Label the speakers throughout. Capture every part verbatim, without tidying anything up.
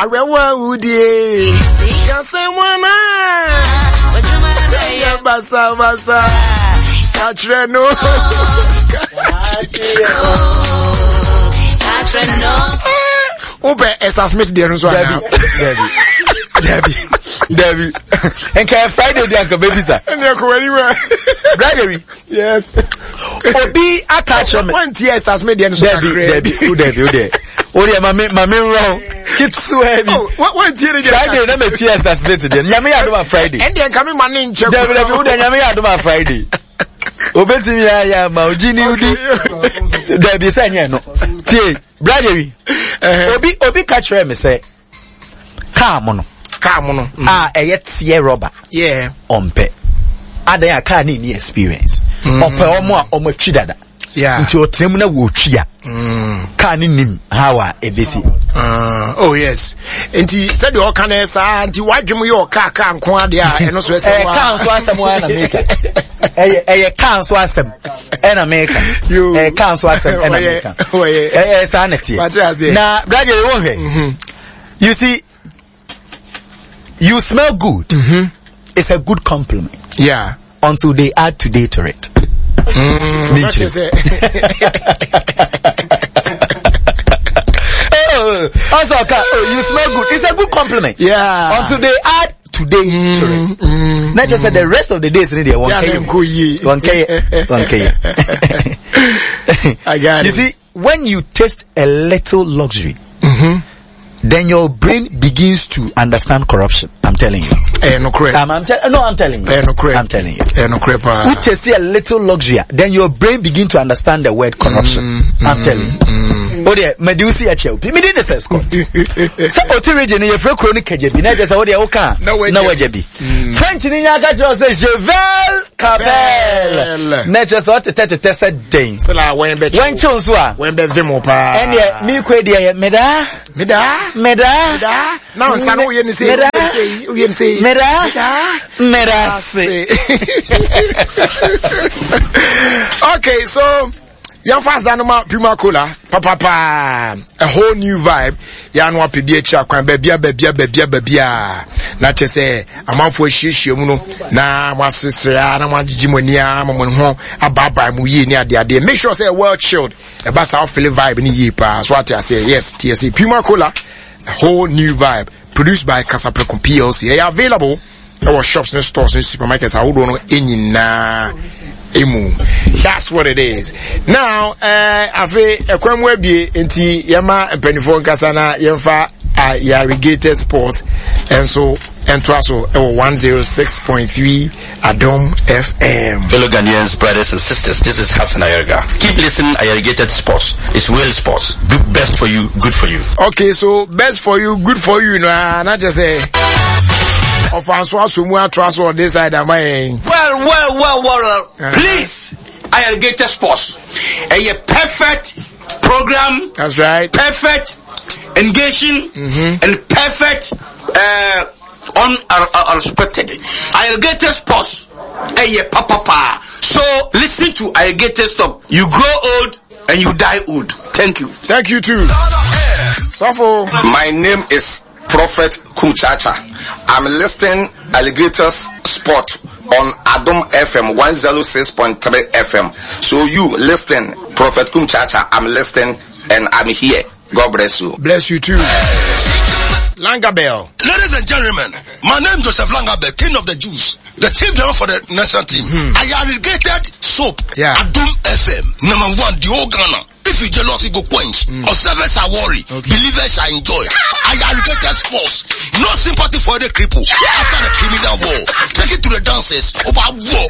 Speaker 1: Arewa udie. Kasemwana. Basa basa. Katre no.
Speaker 2: Katre no.
Speaker 1: Ope Esther Smith deɛ no nso ana.
Speaker 3: Debbie. Debbie. Debbie. Enka Friday dey anka baby sir.
Speaker 1: Ene ko wani wa.
Speaker 3: Friday.
Speaker 1: Yes.
Speaker 3: Obi aka kyerɛ me.
Speaker 1: One tear Esther Smith deɛ no so
Speaker 3: kakra. Debbie, Debbie, Debbie, Debbie. O deɛ ma me ma me nrɔ. Kitsuwa bi.
Speaker 1: Oh, what what tear deɛ.
Speaker 3: Friday na me tear Esther Smith deɛ. Nyame ya do ma Friday.
Speaker 1: Ende nka me ma ne nkyɛ.
Speaker 3: Debbie, Debbie, o deɛ nyame ya do ma Friday. Obetimi ya ya ma ojini udi. Debbie sɛ nyɛ no. Tie, Brother. Obi obi ka kyerɛ me sɛ car mo no.
Speaker 1: Car mo no.
Speaker 3: Ah, ɛyɛ tear rubber.
Speaker 1: Yeah.
Speaker 3: Ɔmpɛ. Adan a car ni ni experience. Ɔpɛ ɔmo a ɔmo atwi dada.
Speaker 1: Yeah.
Speaker 3: Nti ɔtena mu na wɔtwi a. Car ni nim how a ebesi.
Speaker 1: Uh, oh yes. Nti sɛ deɛ ɔka no saa nti wadwem yɛ ɔka car nko ade a ɛno so ɛsɛ
Speaker 3: wa. Car nso asɛm wa na meka. Ɛyɛ ɛyɛ car nso asɛm ɛna meka. Ɛyɛ car nso asɛm ɛna meka. Ɛyɛ saa na teɛ. Na Brother wo hwɛ. You see, you smell good.
Speaker 1: Mm-hmm.
Speaker 3: It's a good compliment.
Speaker 1: Yeah.
Speaker 3: Until they add today to it.
Speaker 1: Mm,
Speaker 3: oh, also, oh, you smell good. It's a good compliment.
Speaker 1: Yeah.
Speaker 3: Until they add today mm, to it.
Speaker 1: Mm,
Speaker 3: Not just mm. the rest of the days in there. One
Speaker 1: yeah,
Speaker 3: K. One K. One K.
Speaker 1: I got
Speaker 3: you
Speaker 1: it.
Speaker 3: See, when you taste a little luxury,
Speaker 1: mm-hmm.
Speaker 3: then your brain begins to understand corruption. I'm telling you.
Speaker 1: Eh, no correct.
Speaker 3: Um, I'm te- no, I'm telling you.
Speaker 1: Eh, no correct.
Speaker 3: I'm telling you.
Speaker 1: Eh, no correct.
Speaker 3: You taste a little luxury, then your brain begin to understand the word corruption.
Speaker 1: Mm,
Speaker 3: I'm
Speaker 1: mm,
Speaker 3: telling you.
Speaker 1: Mm.
Speaker 3: Oh dear, me do see a chill. Me didn't say Scott. So oti region ye free chronic kejebi. Na just oh dear oka.
Speaker 1: No way.
Speaker 3: No wajebi. French ni nya ka say je vais Kabel. Na just what te te te se den.
Speaker 1: Sela wen be.
Speaker 3: Wen chill so a.
Speaker 1: Wen be vimo pa.
Speaker 3: En ye mi kwe de me da.
Speaker 1: Me da.
Speaker 3: Me da.
Speaker 1: Me da. Na nsa no ye ni se.
Speaker 3: Me da.
Speaker 1: Ye ni se.
Speaker 3: Me da. Me da se.
Speaker 1: Okay, so young fast danoma Puma Cola, papa pa, a whole new vibe. Ya no apebi achi akwan babia babia babia babia. Na che se amanfo ahiehie mu no na mo asesere na mo agigi mani a mo ho ababa mu yie ni ade ade. Make sure say well chilled. E ba sa feel vibe ni yie pa. So what I say, yes, T S C Puma Cola, a whole new vibe. Produced by Kasapreko P L C. Available our shops and stores and supermarkets. I don't know any na. Emu. That's what it is. Now, uh, afe ekwem webie nti yema mpanifo nkasa na yemfa Irrigated Sports and so and so one oh six point three Adom F M.
Speaker 4: Fellow Ghanaians, brothers and sisters, this is Hassan Ayerga. Keep listening. Irrigated Sports. It's real sports. Best for you, good for you.
Speaker 1: Okay, so best for you, good for you. No, not just say. Of on this side, am I?
Speaker 5: Well, well, well, well.
Speaker 1: Uh-huh.
Speaker 5: Please, Irrigated Sports. A perfect program.
Speaker 1: That's right.
Speaker 5: Perfect engaging,
Speaker 1: mm-hmm.
Speaker 5: and perfect uh, unexpected. Irrigated Sports. A papa. So listen to Irrigated Stop. You grow old and you die old. Thank you.
Speaker 1: Thank you too. Safo.
Speaker 6: My name is Prophet Kumchacha. I'm listening Alligators Sport on Adom F M one oh six point three F M. So you listen, Prophet Kumchacha, I'm listening and I'm here. God bless you.
Speaker 1: Bless you too. Langabell.
Speaker 7: Ladies and gentlemen, my name is Joseph Langabell, king of the Jews, the chief general for the national team.
Speaker 1: Hmm.
Speaker 7: I irrigated soap.
Speaker 1: Yeah.
Speaker 7: Adom F M, number one, the whole Ghana. If you jealous, you go quench.
Speaker 1: Mm.
Speaker 7: Observers shall worry.
Speaker 1: Okay.
Speaker 7: Believers shall enjoy. I irrigated sports. No sympathy for the cripple. After the criminal war. Take it to the dancers. Over war.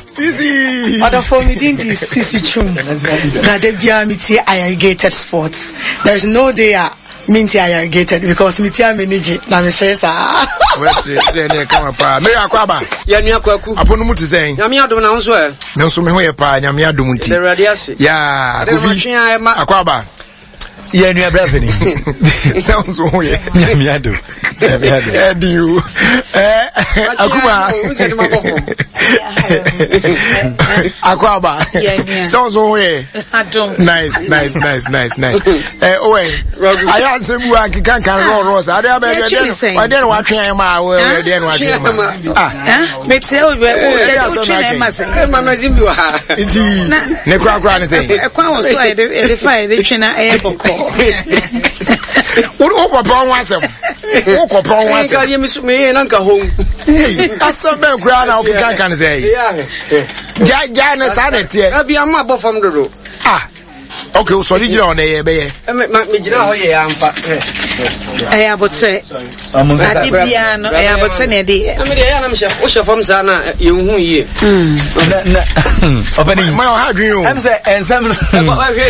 Speaker 1: Sisi.
Speaker 8: Other for me didn't Sisi Chum. Na debia miti irrigated sports. There's no day minti irrigated because miti ameniji na mesere sa.
Speaker 1: Wesre sre ne kama pa. Me akwaba.
Speaker 9: Ya nua kwaku.
Speaker 1: Aponu mu te sen.
Speaker 9: Nyame adom na nso e.
Speaker 1: Me nso me ho ye pa nyame adom nti.
Speaker 9: Erade ase.
Speaker 1: Ya, Kofi. Akwaba.
Speaker 3: Yɛ nua bra fini.
Speaker 1: Sɛ nso ho yɛ.
Speaker 3: Nyame ado. Nyame ado.
Speaker 1: Ɛdi o. Ɛɛ akuma. Akɔ aba. Sɛ nso ho yɛ. Nice nice nice nice nice. Ɛ owɛ. Ayɛ asɛm bu akeka nkan rɔɔrɔɔ sa. Ade abɛ ɛdeɛ ɛdeɛ na watwe ayɛ ma awɔ ɛdeɛ na watwe ma. Ah.
Speaker 2: Mete o bɛ o yɛ o twe na ɛma sɛ.
Speaker 9: Ɛma na zimbi wɔ ha.
Speaker 1: Nti ne kura kura ne sɛ.
Speaker 2: Ɛkwan wɔ so a yɛde yɛde fa yɛde twe na ɛyɛ bɔkɔɔ.
Speaker 1: Wo kɔ pɛ ɔho asɛm. Wo kɔ pɛ ɔho asɛm.
Speaker 9: Nka yɛ mi so mi yɛ na nka hom.
Speaker 1: Asɛm bɛn kura na ɔkeka nka ne sɛ yi. Gya gya ne saa na ɛteɛ.
Speaker 9: Ɛbi ama bɔ fam dodo.
Speaker 1: Ah. Okay, so sɔre gyina hɔ na ɛyɛ bɛyɛ.
Speaker 9: Me gyina hɔ yɛ ampa.
Speaker 2: Ɛyɛ abotire. Ade biara no ɛyɛ abotire na ɛde yɛ.
Speaker 9: Ɛmi deɛ ɛyɛ anam hyɛ wohyɛ fam saa na yɛn hu yie.
Speaker 3: Na ɔpɛni.
Speaker 1: Maa ɔha adwene o.
Speaker 3: Ɛm sɛ ɛnsɛm no. Deɛ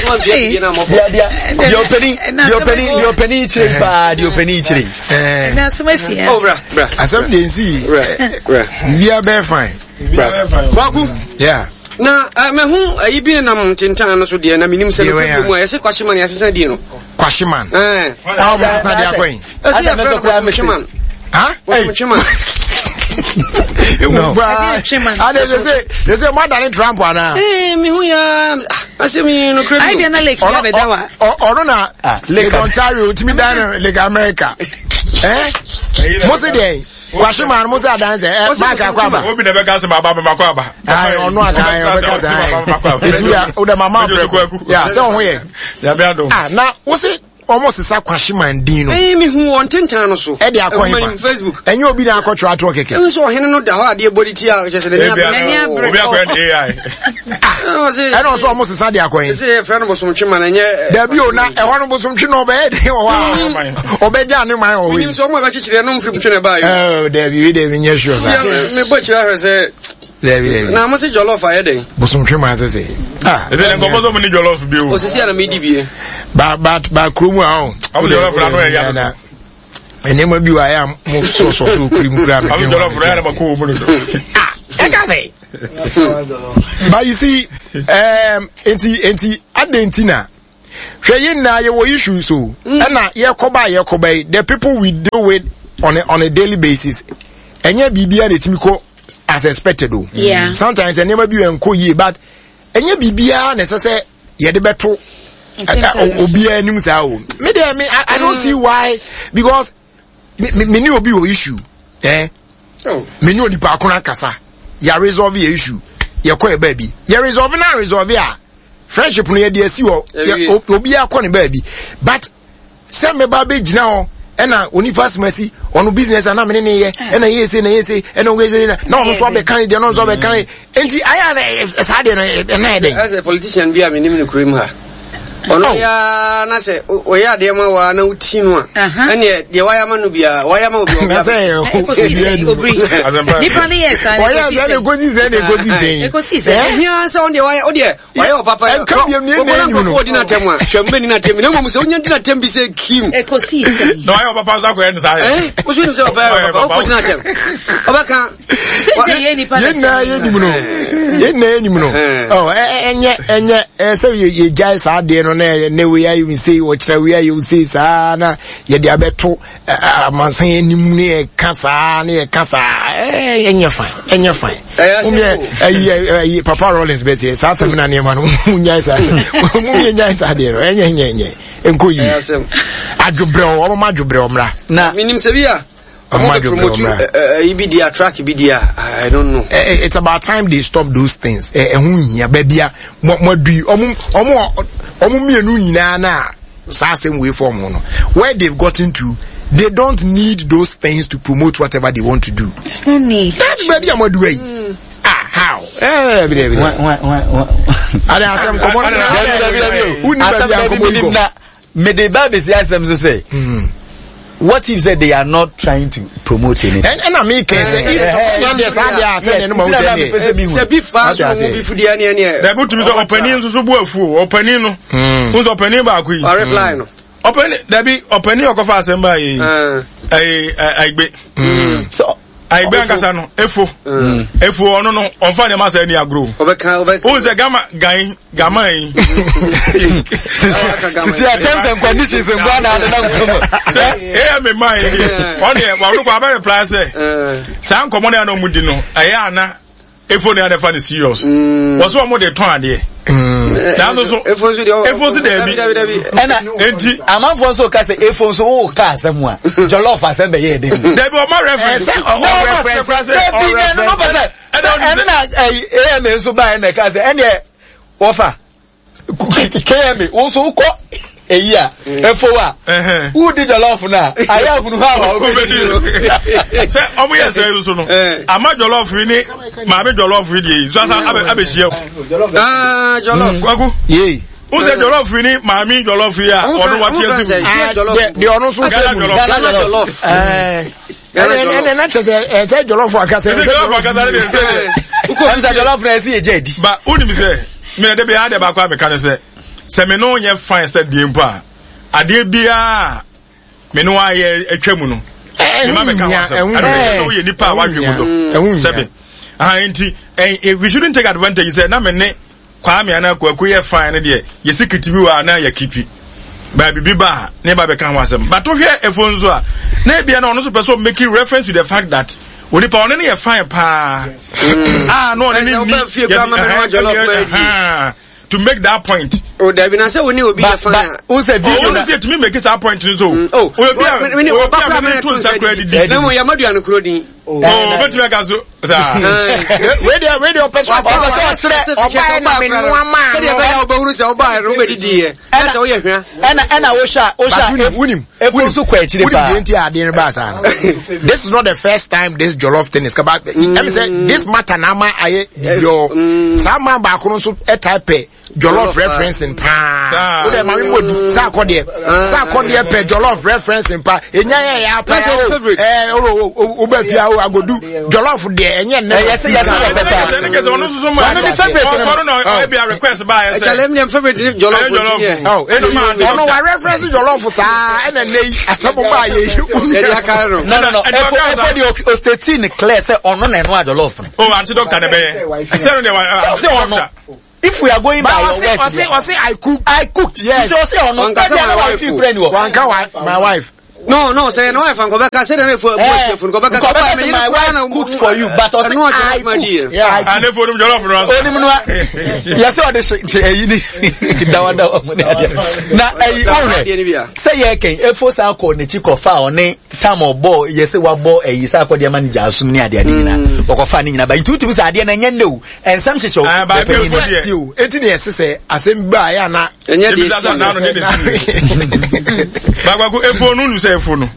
Speaker 3: deɛ ɔpɛni deɛ ɔpɛni deɛ ɔpɛni kyerɛ paa deɛ ɔpɛni kyerɛ.
Speaker 2: Ɛna asɛm asi ya.
Speaker 9: Oh bra bra.
Speaker 1: Asɛm deɛ nsi.
Speaker 9: Bra bra.
Speaker 1: Biribiara bɛyɛ fine.
Speaker 9: Kwaku.
Speaker 1: Yeah.
Speaker 9: Na uh, mehu ayi bi nenam ntentan no so deɛ na menim sɛ nokorɛ mu a yɛse kwahyeman yɛasesa din no.
Speaker 1: Kwahyeman.
Speaker 9: Eh.
Speaker 1: Ah, wɔn sesa de akɔ yi.
Speaker 9: Ɛsɛ yɛfrɛ no Bosomtweman.
Speaker 1: Ha?
Speaker 9: Bosomtweman.
Speaker 1: Ewu paa. Ade de se de se mo adane Trump ana.
Speaker 9: Eh, mehu ya asɛm yi nokorɛ
Speaker 2: bi. Ayi bi na lake ya bɛda wa.
Speaker 1: Ɔno na Lake Ontario tumi dan no Lake America. Eh? Mo se deɛ. Kwahye maa no mo sɛ adanse ɛ maaka akɔ aba.
Speaker 10: Obi na bɛka sɛ ma aba ma kɔ aba.
Speaker 1: Ayi ɔno aka ayi ɔbɛka sɛ ayi etu ya o dɛ ma ma brɛ ya sɛ ɔho yɛ.
Speaker 10: Yabe adum.
Speaker 1: Ah na wosi wɔn sisa kwahye maa din no.
Speaker 9: Ɛyi mi hu wɔn tentan no so.
Speaker 1: Ɛde akɔ hefa
Speaker 9: Facebook.
Speaker 1: Ɛnyɛ obi na akɔtwerɛ atoɔ kɛkɛ.
Speaker 9: Ɛnu sɛ ɔhene no da hɔ adeɛ bɔ ne ti a kyɛ sɛ n'ani abere.
Speaker 10: Obi akɔyɛ ne A I.
Speaker 1: Ɛna ɔsɛ ɔmo sisa de akɔ yi.
Speaker 9: Ɛsɛ yɛ fɛ no bosomtwe ma na ɛnyɛ.
Speaker 1: Dabi o na ɛhɔ no bosomtwe na ɔbɛyɛ den wɔ hɔ a ɔbɛgya ne man wɔ hɔ yi.
Speaker 9: Minim sɛ ɔmo a bɛkyekyere ɛno mfiri mtwe na ɛbaa yi.
Speaker 1: Ɛɛ dabi wi dabi nyɛ sure sa.
Speaker 9: Mi bɔ kyerɛ ahwɛ sɛ.
Speaker 1: Dabi dabi.
Speaker 9: Na mo se jollof ayɛ den.
Speaker 1: Bosomtwe ma sese.
Speaker 10: Ah ɛsɛ ne nkɔmɔ sɛ mo ni jollof bi o.
Speaker 9: Osisi a na mi di bie.
Speaker 1: Ba ba ba kurom a ɔn.
Speaker 10: Ɔmo jollof na ano yɛ ya.
Speaker 1: Nneɛma bi wɔ ayɛ a mo sɔsɔ so kiri mu kura mi.
Speaker 10: Ɔmo jollof na yɛ na ma ko wɔn mu no.
Speaker 1: Ah ɛka sɛ. But you see, um, enti enti adɛn na hwɛ yɛn nyinaa yɛwɔ issues o ɛna yɛkɔba yɛkɔba yi the people we deal with on a, on a daily basis ɛnyɛ biribiara na etimi kɔ as expected o.
Speaker 2: Yeah.
Speaker 1: Sometimes nneɛma bi yɛ nkɔ yie but ɛnyɛ biribiara na ɛsɛ sɛ yɛde bɛto obiara anim saa o. Me deɛ me I, I don't see why because me me me ne obi wɔ issue eh
Speaker 9: Oh.
Speaker 1: Me ne onipa ko no akasa yɛ resolve yɛ issue yɛkɔ yɛ baabi yɛ resolve na resolve a friendship no yɛde asi hɔ obiara kɔ ne baabi but sɛ meba bɛgyina hɔ ɛna onipa asɛm asi ɔno business ana mene ne yɛ ɛna yɛ se na yɛ se ɛna ɔyɛ se na ɔno nso abɛka ne deɛ na ɔno nso abɛka ne nti ayɛ a saa deɛ no ɛna yɛ dɛn.
Speaker 9: Ɛsɛ politician bi a menim no kurom ha ɔno ya na sɛ ɔyɛ adeɛ ma wa na woti no a ɛneɛ deɛ wayɛ ama no biara wayɛ ama obi
Speaker 1: ɔbia
Speaker 2: nipa ne yɛ saa
Speaker 1: ɔyɛ sɛ ne kosi sɛ ne kosi sɛ
Speaker 2: ekosi sɛ
Speaker 9: ɛhia sɛ ɔno deɛ wayɛ ɔdeɛ wayɛ ɔpapa
Speaker 1: ɛnka biam ne ɛnna ɛnyu no
Speaker 9: ɔdi n'atɛm a hwɛ mbɛ ni n'atɛm na mmom sɛ onya di n'atɛm bi sɛ kim
Speaker 2: ekosi sɛ
Speaker 10: na wayɛ ɔpapa nso akɔyɛ ne saa yɛ
Speaker 9: ɛn wosu nim sɛ ɔpapa yɛ ɔpapa ɔkɔ di n'atɛm ɔbɛka
Speaker 2: sɛ yɛ nipa
Speaker 1: yɛn nyinaa yɛ nim no yɛn nyinaa yɛ nim no ɔ ɛnyɛ ɛnyɛ ɛsɛ yɛ yɛ gyae saa adeɛ no na ne wei ayɛ wei ɔkyerɛ wei ayɛ wei saa na yɛde abɛto amansan anim ne yɛka saa ne yɛka saa ɛɛ ɛnyɛ fine ɛnyɛ fine womyɛ ɛyi ɛyi papa Rollins bɛ seɛ saa sɛm na nneɛma no mu nyae saa mu yɛ nyae saa adeɛ no ɛnyɛ ɛnyɛ ɛnyɛ nkɔ yie adwobrɛw ɔmo ma adwobrɛw mmra.
Speaker 3: Na
Speaker 9: menim sɛ bi a ɔmo bɛ promote ɛyi bi di a track bi di a I don't know.
Speaker 1: It's about time they stop those things. Ɛho nhia baabi a mo mo adu yi ɔmo ɔmo ɔmo mmienu nyinaa na saa asɛm wei fɔm ho no where they've gotten to they don't need those things to promote whatever they want to do.
Speaker 2: There's no need.
Speaker 1: That baabi a mo adu yi. Ah how? Eh bi bi. Ade asɛm kɔmɔ. Wuni baabi a nkɔmɔ yi kɔ.
Speaker 3: Mede ba besi asɛm so sɛ what if say they are not trying to promote anything.
Speaker 1: ɛna mi kɛ sɛ sɛ nea deɛ saa deɛ a sɛ nea no ma wo sɛ
Speaker 9: neɛ. Sɛ beef paa so mo beef deɛ neɛ neɛ.
Speaker 10: Dabi tumi sɛ ɔpanin nso so bu afu o ɔpanin no. N sɛ ɔpanin baako yi.
Speaker 9: Ɔreply no.
Speaker 10: Ɔpanin dabi ɔpanin ɔkɔfa asɛm baa yɛ yi. Ɛyi ɛgbe.
Speaker 3: So
Speaker 10: Ayigbe ankasa no efo efo ɔno no ɔnfa nneɛma sɛ ɛni agorɔ o sɛ gama gan gama yi.
Speaker 3: Sisi a terms and conditions nkwa na adi na nkɔmɔ.
Speaker 10: Sɛ eya mi maa yi ɔne ɔno kɔ abɛ reply sɛ saa nkɔmɔ na yɛn ɔmo di no ɛyɛ ana efo ne adefa ne serious wɔsɛ ɔmo de tɔn adeɛ. Nanso so
Speaker 9: efo nso deɛ
Speaker 10: efo nso dɛbi
Speaker 3: ɛna
Speaker 10: eti
Speaker 3: amanfoɔ nso ka sɛ efo nso wo ka asɛm a jollof asɛm bɛ yɛ ɛdɛ mu.
Speaker 10: Dɛbi ɔma reference
Speaker 3: ɔma reference dɛbi ɛno no pɛ sɛ ɛno na ɛyi ama nso ba ɛna ɛka sɛ ɛnneɛ wɔfa K M A wo nso wokɔ eyi a efo a wudi jollof na ayɛ ahunu ha a wobɛdi no.
Speaker 10: Sɛ ɔmo yɛ sɛ nso no ama jollof yi ne maame jollof yi deɛ yi nso asa abɛhyia o.
Speaker 9: Jollof.
Speaker 10: Kwaku.
Speaker 1: Yee.
Speaker 10: N sɛ jollof yi ne maame jollof yi a ɔno wate ase mu.
Speaker 1: Deɛ ɔno nso sɛ mu.
Speaker 9: Ghana jollof.
Speaker 1: Ɛnɛ na kyerɛ sɛ ɛsɛ jollof akasa.
Speaker 10: Ɛsɛ jollof akasa ne deɛ sɛ.
Speaker 3: Ɛm sɛ jollof na ɛsi yɛ gye di.
Speaker 10: Ba wonim sɛ mɛ de bi ade baako a meka ne sɛ sɛ me no nyɛ fine sɛ deɛ mpo a adeɛ biara me no ayɛ atwa mu no mema meka ho asɛm ɛno ne sɛ woyɛ nipa a wadwe mu do sɛbe aha nti we shouldn't take advantage sɛ na me ne Kwame anaa Kwaku yɛ fine no deɛ yɛ secret bi wɔ a na yɛ kipi baabi bi ba a ne ba bɛka ho asɛm but wohwɛ ɛfo nso a na ebia na ɔno nso pɛ sɛ ɔmake reference to the fact that onipa ɔne ne yɛ fine paa ah no ɔne ne ni yɛ to make that point.
Speaker 9: O dabi na sɛ wo ni obi yɛ fine a.
Speaker 3: O sɛ video
Speaker 10: na. O sɛ tumi make that point ni so. O obi a obi a mi to nsa kura didi.
Speaker 9: Na mo yamadu anu kuro din.
Speaker 10: O bɛ tumi aka so saa.
Speaker 1: Wei deɛ wei deɛ ɔpɛ sɛ ɔkyerɛ ɔbaa na mi nua maa no.
Speaker 9: Sɛdeɛ ɛbɛyɛ a ɔbɛhunu sɛ ɔbaa yɛ no wobɛdidi yɛ. Ɛna sɛ woyɛ hwɛ.
Speaker 3: Ɛna ɛna wohwɛ a wohwɛ a
Speaker 1: wunim
Speaker 3: efo nso kɔ akyire paa.
Speaker 1: Wunim deɛ nti a adeɛ no baa saa no. This is not the first time this jollof thing is about. Ɛmi sɛ this matter na ama ayɛ yɔ. Saa man baako no nso ɛtae pɛ jollof referencing paa. O de maame mo di saa akɔ deɛ saa akɔ deɛ pɛ jollof referencing paa. Enya yɛ yɛ apa yɛ o ɛɛ o o o bɛ fia o agodu jollof deɛ ɛnyɛ nnɛ.
Speaker 3: Ɛyɛ sɛ yɛ sɛ yɛ pɛ saa.
Speaker 10: Ɛsɛ ne kɛse ɔno nso ma
Speaker 3: ɔno ne favourite no.
Speaker 10: Ɔno na ɔyɛ bi a request ba yɛ sɛ.
Speaker 9: Ɛkyɛlɛ mi deɛ favourite ni jollof ti yɛ.
Speaker 1: Ɔ eti ɔno wa reference jollof saa ɛna nne yi asɛm ba yɛ yi.
Speaker 9: Yɛde aka no.
Speaker 3: No no no ɛfo ɛfo de osteti ne clear sɛ ɔno na ɛno a jollof no.
Speaker 10: O anti doctor na bɛyɛ. Sɛ no deɛ wa
Speaker 3: Sɛ ɔno. If we are going by your words,
Speaker 1: I say, I say, I cook.
Speaker 3: I cooked.
Speaker 1: Yes.
Speaker 3: So say or no?
Speaker 9: Wanka my wife.
Speaker 1: Wanka wa, my wife.
Speaker 9: No, no. Say no wife. Anko beka say na for for for beka.
Speaker 3: Beka my wife cooked for you, but I say I cooked.
Speaker 1: Yeah.
Speaker 10: And if you jollof no.
Speaker 3: Oni mu no. Yes, o de che eyi ni. Dawa dawa mu ni ade. Na eyi o Say ye ken efo sa ko ne chi ko fa oni tam obo ye se wa bo eyi sa ko de ma ni jasum ni ade ade nyina. Okofa ni nyina ba nti utimi sa ade na enye ne o. Ensam hyehyɛ
Speaker 10: o.
Speaker 1: Ti o. Eti ne yɛse sɛ asɛm ba ya na
Speaker 9: enye de
Speaker 10: si. Bagwaku efo no nu sɛ efo no.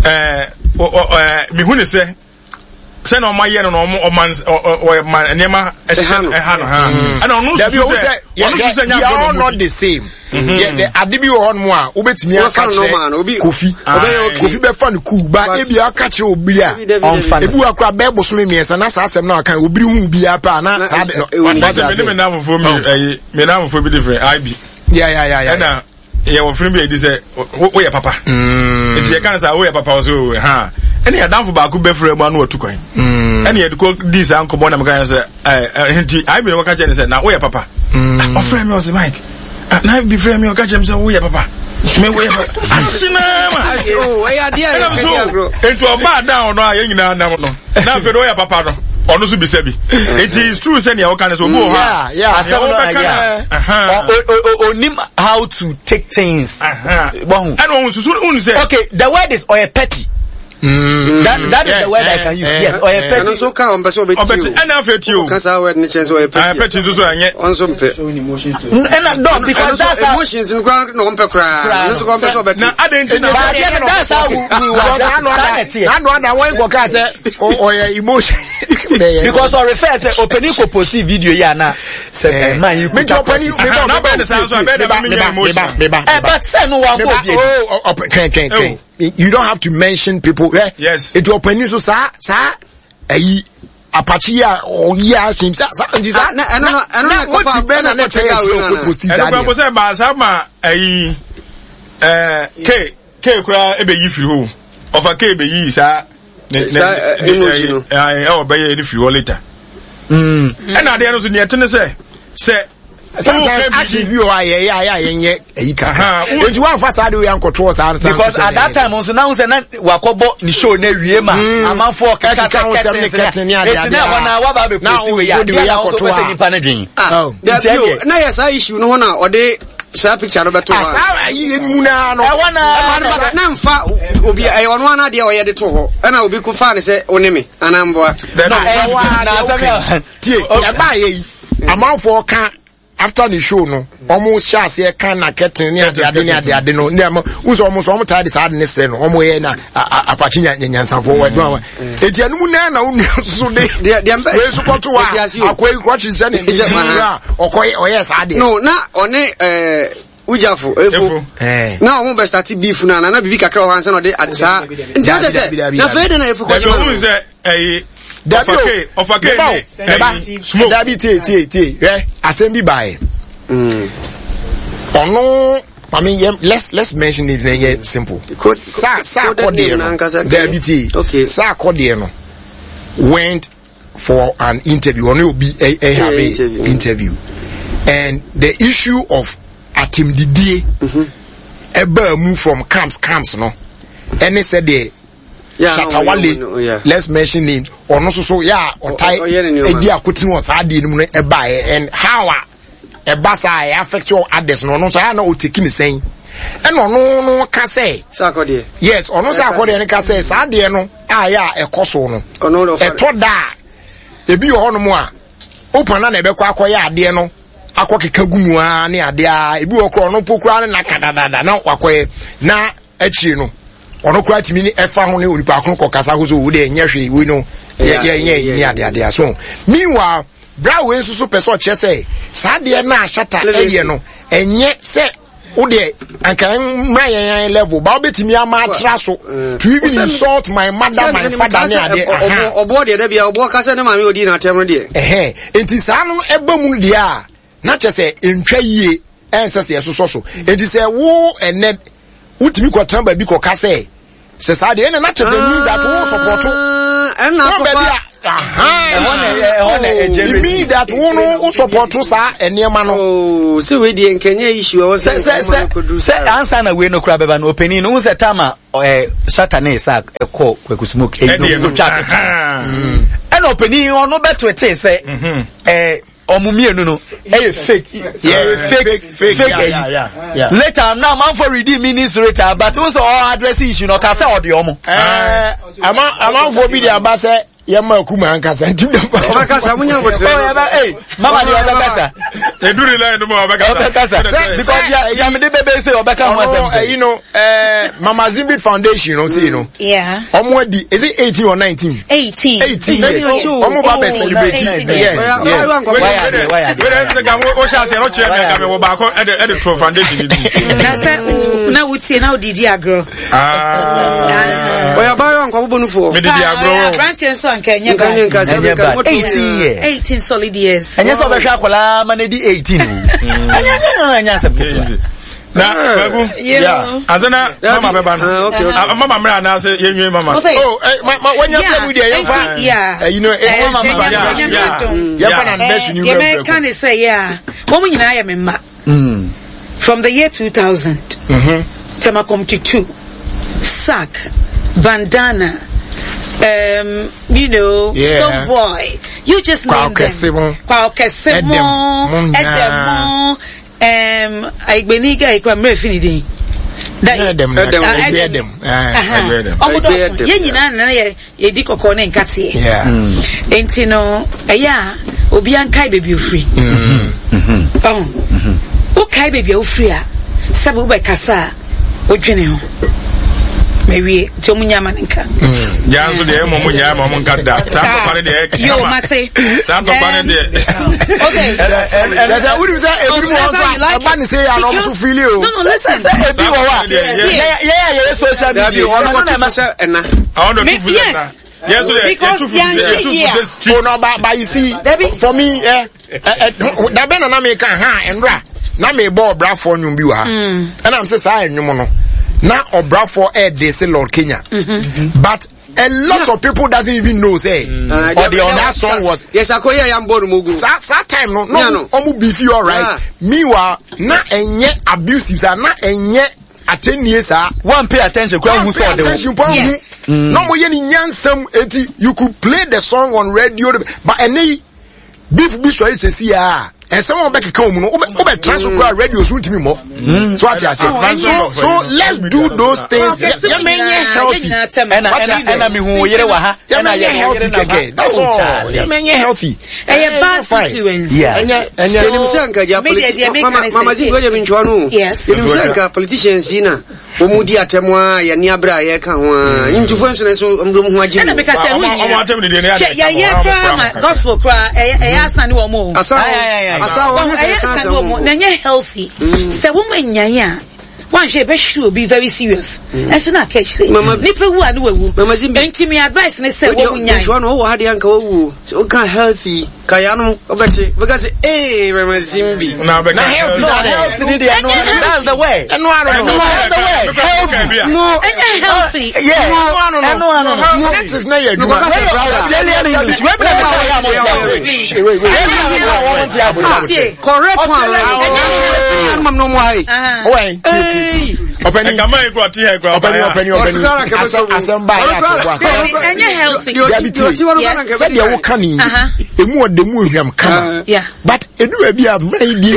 Speaker 10: Eh eh mi hu ne sɛ sɛ na ɔma yɛ no na ɔmo ɔma ɔma nneɛma ɛhyɛ ɛha no ha. Ɛna ɔno nso sɛ ɔno nso sɛ
Speaker 1: nya we are all not the same. Yeah, the ade bi wɔ hɔ nom a wobɛtumi aka kyerɛ Kofi. Kofi bɛfa no cool ba ebi aka kyerɛ obi a ebi wɔ akora bɛɛ bosome mmiɛnsa na saa asɛm na aka obiri hu biara paa na saa de no.
Speaker 10: Wɔsɛ me ne me namfoɔ mi ɛyi me namfoɔ bi different I B.
Speaker 1: Yeah yeah yeah yeah.
Speaker 10: Ɛna yɛ wɔ firi bi a yɛdi sɛ woyɛ papa. Nti yɛ kan sɛ woyɛ papa wɔ so ha ɛne yɛdanfo baako bɛfrɛ mu ano watu kwan. Ɛne yɛde kɔ di saa nkɔmmɔ na meka yɛn sɛ ɛɛ nti I B na wɔka kyerɛ ne sɛ na woyɛ papa. Ɔfrɛ mi ɔsɛ Mike. Na bi frɛ mi ɔka kyerɛ mi sɛ woyɛ papa. Me woyɛ papa. Ahyena ma.
Speaker 9: Ɛyɛ adeɛ a yɛ kɛdi agorɔ.
Speaker 10: Nti ɔbaa dan ɔno a yɛn nyinaa nam no. Na afei de woyɛ papa no. Ɔno nso bisa bi. Nti it's true sɛ nea ɔka ne sɛ obi wɔ hɔ a.
Speaker 3: Asɛm no ayɛ. Onim how to take things.
Speaker 10: Ɛna ohun susu ohun sɛ.
Speaker 3: Okay, the word is ɔyɛ petty. Mm. That that is yeah, the word yeah, I can use. Yeah, yes, or a petty.
Speaker 9: And also, can on person
Speaker 10: obeti. And now petty o.
Speaker 9: Kan sa word ni chance or petty.
Speaker 10: Ah, petty nso so anye.
Speaker 9: Onso mpe.
Speaker 3: And no, because that's how
Speaker 9: emotions no kra no mpe kra. No so kon person obeti.
Speaker 10: Na aden ti na.
Speaker 3: That's how we were.
Speaker 1: Na no ada won ko ka say o emotion.
Speaker 3: Because or refer say opening ko post video ya na say man you
Speaker 1: could. Me opening me ba
Speaker 10: na be say so be na me emotion.
Speaker 3: Eh, but say no one go bi.
Speaker 1: Oh, ken ken ken. You don't have to mention people. Eh?
Speaker 10: Yes.
Speaker 1: It will open you so sa sa eh Apache ya oh yeah same sa sa nti sa
Speaker 9: na na na na
Speaker 1: what you ben na na tell you post
Speaker 10: is that. E ko say ba sa ma eh eh K K kura e be yi firi ho. Ofa K be yi sa ne ne emoji no ɛwɔ bɛyɛ ne firi hɔ later. Ɛna adeɛ no so neɛ ɛte ne sɛ sɛ
Speaker 1: sometimes actions bi wɔ hɔ a yɛyɛ a yɛ a yɛnyɛ ayi kakra nti wɔamfa saa de wei ankɔtoɔ saa no
Speaker 3: because at that time nso na sɛ na wakɔbɔ ne show na wie ma amanfoɔ keka sɛ kɛten kɛten ne ade ade na ɛhɔ na waba abɛ posti wei a deɛ na nso pɛ sɛ nipa no dwen
Speaker 9: nti na yɛ saa issue no ho na ɔde saa picture no bɛto hɔ
Speaker 1: saa ayi mu naa no
Speaker 3: ɛhɔ na
Speaker 9: na nfa obi ɛyɛ ɔno ana deɛ ɔyɛ de to hɔ ɛna obi ko fa ne sɛ ɔne me anaa mboa
Speaker 1: tie ɛbaa yɛ yi amanfoɔ ka after the show no ɔmo hyɛ aseɛ ka na kɛtene ne ade ade ne ade ade no ne ama wusɛ ɔmo so ɔmo taa de saa ade ne srɛ no ɔmo yɛ na apakye nya nyansafoɔ wɔ ɛdɔn awa eti ɛnum nan na onua soso de wei so kɔto a akɔ yi kɔkye sɛ ne ne wura ɔkɔ ɔyɛ saa deɛ.
Speaker 9: No na ɔne ɛɛ wujafo efo na ɔmo bɛ start beef na na bibi kakra wɔ hɔ ansa na ɔde saa nti ɔde sɛ na fɛn de na efo kɔgye ma no.
Speaker 10: Ɛyi
Speaker 1: dabi o
Speaker 10: ɔfake
Speaker 1: ne smoke dabi tie tie tie hwɛ asɛm bi baayɛ ɔno maame yɛ let's let's mention names na yɛ simple saa saa akɔdeɛ no dabi tie saa akɔdeɛ no went for an interview ɔno obi ɛ ɛ have a interview and the issue of atemdidie ɛbaa mu from camps camps no ɛne sɛ deɛ. Shatta Wale, let's mention names. Ɔno nso so yɛ a ɔtae edi akotene wɔ saa adeɛ no mu no ɛbaeɛ and how a ɛba saa ɛ affect all others no ɔno nso ayɛ na ɔteki ne sɛn ɛna ɔno no ka sɛ yes ɔno sɛ akɔdeɛ no ka sɛ saa adeɛ no a yɛ a ɛkɔ so no ɛtɔ da a ebi wɔ hɔnom a open na na ɛbɛkɔ akɔyɛ adeɛ no akɔ keka gu mu ara ne adeɛ a ebi wɔ korɔ ɔno mpo koraa ne naka dadaada na wakɔyɛ na akyire no ɔno koraa tumi ne ɛfa ho ne onipa ko kɔ kasa ho so wo deɛ nyɛ hwee wei no yɛ yɛ ne ade ade so meanwhile bra wei nso so pɛ sɛ ɔkyerɛ sɛ saa deɛ no a Shatta ɛyɛ no ɛnyɛ sɛ wo deɛ anka mmra yɛn yɛn level ba wobɛtumi ama atra so to even insult my mother my father ne adeɛ aha
Speaker 9: ɔboɔ deɛ dabi a ɔboɔ kasa ne maame odi n'atɛm no deɛ
Speaker 1: ɛhɛn nti saa no ɛba mu no deɛ a na kyerɛ sɛ ntwa yie ɛnsɛ sɛ yɛsosɔ so nti sɛ wo ɛnɛ wotumi kɔtena baabi kɔka sɛ sɛ saa deɛ ɛna na kyerɛ sɛ means that wo support wo baabi a it means that wo no wo support saa nneɛma no.
Speaker 9: sɛ wei deɛ nkɛnyɛ issue ɛwɔ sɛ
Speaker 3: sɛ sɛ sɛ ansa na wei no kora bɛba no ɔpanin no wo sɛ tama Shatta ne sa ɛkɔ Kwaku Smoke ɛyi no otwa picture ɛna ɔpanin ɔno bɛtoetee sɛ ɛɛ ɔmo mmienu no ɛyɛ fake yeah, fake fake fake ɛyi later now amanfo redeem meanings later but n sɛ ɔ address issue no ɔka sɛ ɔde ɔmo.
Speaker 1: ɛɛ ama amanfo bi de aba sɛ yɛ ma kuma ankasa nti bi
Speaker 9: ɔbɛkasa mo nya abotire
Speaker 3: ɔ yɛ ee mama de ɔbɛkasa
Speaker 10: eduri line no mu ɔbɛkasa
Speaker 3: ɔbɛkasa because yamide bebe se ɔbɛka ho asɛm
Speaker 1: ɔno ɛyi no ɛɛ Mama Zimbit Foundation no sei no ɔmo adi is it eighteen or nineteen
Speaker 2: eighteen
Speaker 1: eighteen years ɔmo ba bɛ celebrate yes yes
Speaker 10: wɛrɛ ɛsɛ ka o ṣe ase ɛrɔ kyerɛ mi ɛka mi wɔ baako ɛde ɛde tro foundation ni bi.
Speaker 2: na sɛ na wutie na odidi agorɔ.
Speaker 9: ɔyɛ abayewa nkɔ bɔbɔ nufoɔ.
Speaker 10: mi didi agorɔ.
Speaker 2: aberanteɛ nso anka ɛnyɛ bad.
Speaker 3: ɛnyɛ bad eighteen years.
Speaker 2: eighteen solid years.
Speaker 3: ɛnyɛ sɛ ɔbɛhwɛ akwadaa ma ne di eighteen o. ɛnyɛ ɛnyɛ ɛnyɛ asɛm ketewa.
Speaker 10: Na bagu asena mama bɛba no mama mmerɛ anaasɛ yɛnwie mama.
Speaker 1: oh eh, ma ma wɔnyɛ pɛ mu deɛ yɛmfa ɛyi no eh, mama yɛmfa na bɛsi ni wura
Speaker 2: yɛmɛka ne sɛ yɛ a wɔn nyinaa yɛ me mma from the year two thousand Tema Committee two Sack Bandana um, you know,
Speaker 1: yeah.
Speaker 2: Stone Boy, you just name them. Kwa Okesemo, Edemo, um, Aigbeniga, Ikwa Mrefinidi.
Speaker 1: Edem, Edem, Edem,
Speaker 2: Edem. Ọmọ dọ̀sùn, yẹn nyinaa nana yẹ yẹdi kọkọọ ne nkateɛ. Nti no, ɛyɛ a obiara nkae baabi ofiri. Ɔho, wokae baabi a ofiri a, sɛbi wobɛkasa a, wodwene ho. Mawie, nti ɔmo nya ama ne nka.
Speaker 10: Gyaa nso deɛ ɛmɔ mo nyaa ma ɔmo nka da. Saa ntɔkwa ne deɛ ɛkama.
Speaker 2: Yo, mate.
Speaker 10: Saa ntɔkwa ne deɛ.
Speaker 2: Okay.
Speaker 1: Kyerɛ wonim sɛ ebi mu wɔ nso a ɛba ne sɛ yɛ ano ɔmo so fili o.
Speaker 2: No, no, listen.
Speaker 3: Sɛ ebi wɔ hɔ a yɛ yɛ a yɛyɛ social media.
Speaker 9: Ɔno ɔno na ɛma sɛ ɛna.
Speaker 10: Ɔno tu fu sɛ ɛna. Yɛn nso deɛ yɛtu fu sɛ yɛtu fu sɛ street.
Speaker 1: Oh no, but but you see, for me, eh, eh, eh, dabe na na mi ka ha ɛnura na mi bɔ ɔbrafoɔ nnwom bi wɔ ha ɛna mi sɛ saa nnwom no na ɔbrafoɔ ɛɛde se Lord Kenya but A lot yeah. of people doesn't even know say mm. uh, or the, that song was
Speaker 9: yes akoya yam board mugu
Speaker 1: sa sa time no no omu beef you all right yeah. Meanwhile na enye abusive sa na enye atenie sa
Speaker 3: one pay attention kwa hu so de
Speaker 1: attention kwa hu no mo ye ni nyansam eti you could play the song on radio but ene beef bi so sesi ya and someone back come no obe transfer kwa radio so ntimi mo so what I say so so let's do those things ya menye healthy
Speaker 3: and and me hu yere wa ha
Speaker 1: and I healthy keke that's all ya menye healthy
Speaker 2: eh bad influence
Speaker 3: yeah
Speaker 9: enye enim se anka ja mama zi go de minchwa no enim se anka politicians na omudi atemu a ye ni abra ye ka ho a ntufo nso so ndom ho agye
Speaker 2: na because e
Speaker 10: hu atemu de ne
Speaker 2: ya ye kra ma gospel kra e ya asan wo mo
Speaker 9: asa asa wo
Speaker 2: asa wo mo na nye healthy se wo manyan a one she be sure be very serious and so na catch ni pe wu anu ewu enti me advice ne say wo nyan
Speaker 9: wo no wo ha de anka wo wu so kan healthy ka ya no obeti because eh mama zimbi
Speaker 10: na
Speaker 3: healthy healthy ni dey no that's the way
Speaker 1: no no
Speaker 3: that's the way
Speaker 1: healthy
Speaker 2: no healthy
Speaker 3: yeah
Speaker 1: no no no no that is na your
Speaker 3: English we
Speaker 1: wait wait
Speaker 9: correct one mam no mo ai
Speaker 1: wait Openi openi openi openi asem ba ya te
Speaker 2: enye healthy
Speaker 1: said ya wo kan emu odemu ehwam kama but edu ba bia mran bi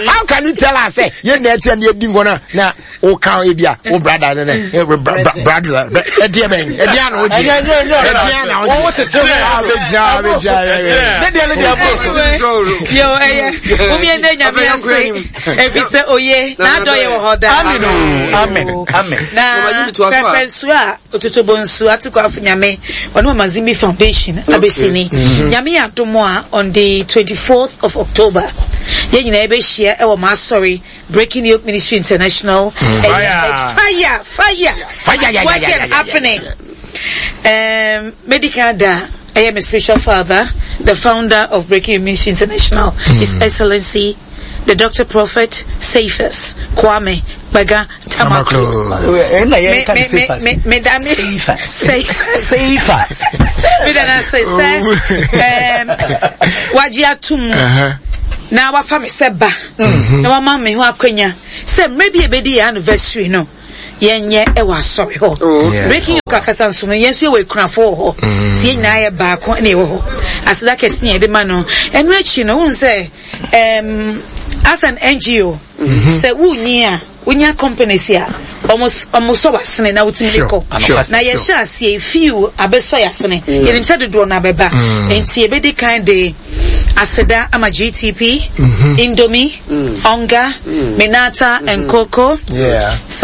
Speaker 1: how can you tell us say ye na etia na edi ngona na o kan e bia o brother ne brother e die ben e dia na o ji e dia na o ji
Speaker 3: o tete
Speaker 1: na be ja be ja
Speaker 3: ne dia ne dia post
Speaker 2: yo eh o mi ende nya mi ase e bi se oye na adoye wo ho da
Speaker 3: amen amen amen
Speaker 2: na pepensu a ototobo nsu atukọ afunyame ono Mama Zimbi Foundation abesini nyame adomo a on the twenty-fourth of October ye nyina ebe share e wo ma sorry Breaking Yoke Ministry International
Speaker 1: fire
Speaker 2: fire fire
Speaker 1: fire
Speaker 2: what is happening um medical da I am a spiritual father, the founder of Breaking Yoke Ministry International, His Excellency the Doctor Prophet Cephas Kwame Baga Tamaklo. Me me me me Cephas. Me dana say say um waji atum. Na wafa me seba. Na wa ma me ho akwanya. Say maybe ebedi anniversary no. Yenye e wa sorry ho. Breaking Yoke akasa nso no yenso ye we kunafo ho. Ti nyina ye baako na e wo ho. Aseda kese ye de ma no. Enu achi no won say um as an N G O, say wunya wunya companies here almost almost so asene na wutimi ko na ye hye ase few abeso ya asene ye nim said do na beba enti e be di kind de aseda ama G T P, Indomie, Onga, Minata and Coco.
Speaker 1: Yeah.
Speaker 2: Some